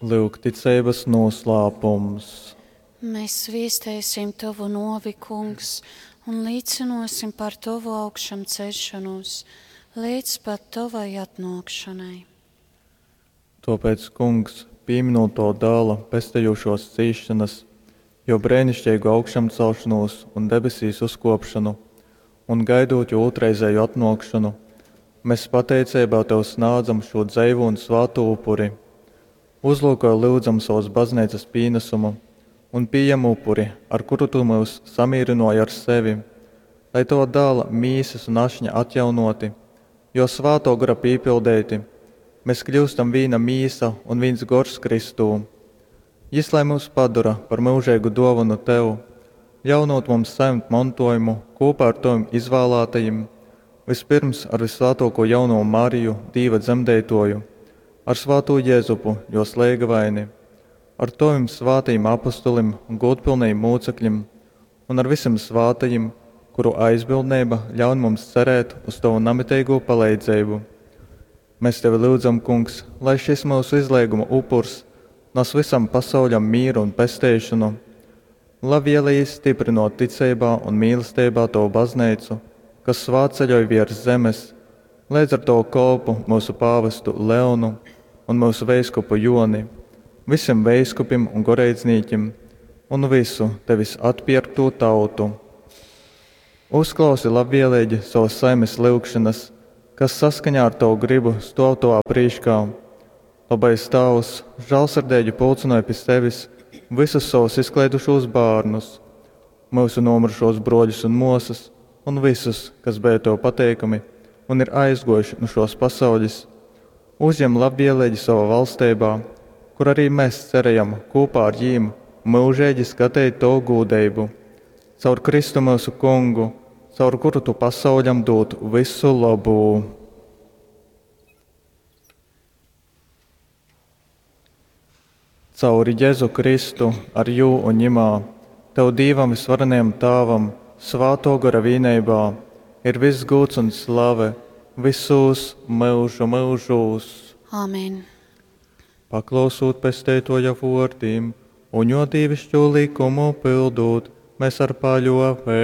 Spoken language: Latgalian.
Lyugticeibas nūslāpums. Mēs viestēsim Tovu novi, Kungs, un līcinosim par Tovu augšām ceļšanos līdz pat Tovai atnākšanai. Tāpēc, Kungs, pieminot to dēla pestejošos cīšanas, jo brēnišķīgu augšāmcelšanos un debesīs uzkopšanu, un gaidot jo otrreizēju atnākšanu, mēs pateicībā Tev snādzam šo dzeivu un svātu upuri. Uzlūko lūdzam savas baznīcas pienesumu un pieņem upuri, ar kuru Tu mūs samierināji ar sevi, lai Tava dēla mīsas un ašņa atjaunoti, jo svāto gara pīpildēti, mēs kļūstam vīna mīsa un viens gors Kristū. Jis lai mūs padara par mūžīgu dāvanu Tev, ļaunot mums saņemt mantojumu kopā ar Tavim izvēlētajiem, vispirms ar visvētāko jauno Mariju, Dīva dzemdētoju, ar svāto Jēzupu, jo slēgavaini, ar Tavim svātajiem apustulim un godpilnajiem mūcekļiem, un ar visiem svātajiem, kuru aizbildnība ļaun mums cerēt uz Tavu namitīgo palīdzību. Mēs Tevi lūdzam, Kungs, lai šis mūsu izlieguma upurs nes visam pasauļam mieru un pesteišanu, labvēlīgi stiprinot ticībā un mīlestībā Tavu baznīcu, kas svātceļoj virs zemes, līdz ar to kolpu mūsu pāvestu Leonu un mūsu veiskupu Joni, visiem veiskupim un goreidznīķim un visu Tevis atpirkto tautu. Uzklausi labvēlīgi savas saimes lūgšanas, kas saskaņā ar Tavu gribu stāv Tavā prīškā. Labais Tēvs, žēlsirdīgi pulcināja pie sevis visus savus izklaidušos bērnus, mūsu nomirušos broļus un mosas, un visus, kas bija Tev pateikami un ir aizgojuši no šos pasaules. Uzņem labvēlīgi savā valstībā, kur arī mēs cerējam kopā ar jīm mūžīgi skatīt Tavu gūdību. Caur Kristu mūsu kungu, caur kuru Tu pasauļam dod visu labu. Cauri Jēzu Kristu, ar jū un ņimā, Tev Dīvam visvarenajam Tāvam, svāto gara vīneibā, ir viss gūts un slave visos mūžu mūžos. Āmen. Paklausot pesteitoja vārdiem un jo dievišķo likumu pildot, mēs ar paļovēsim.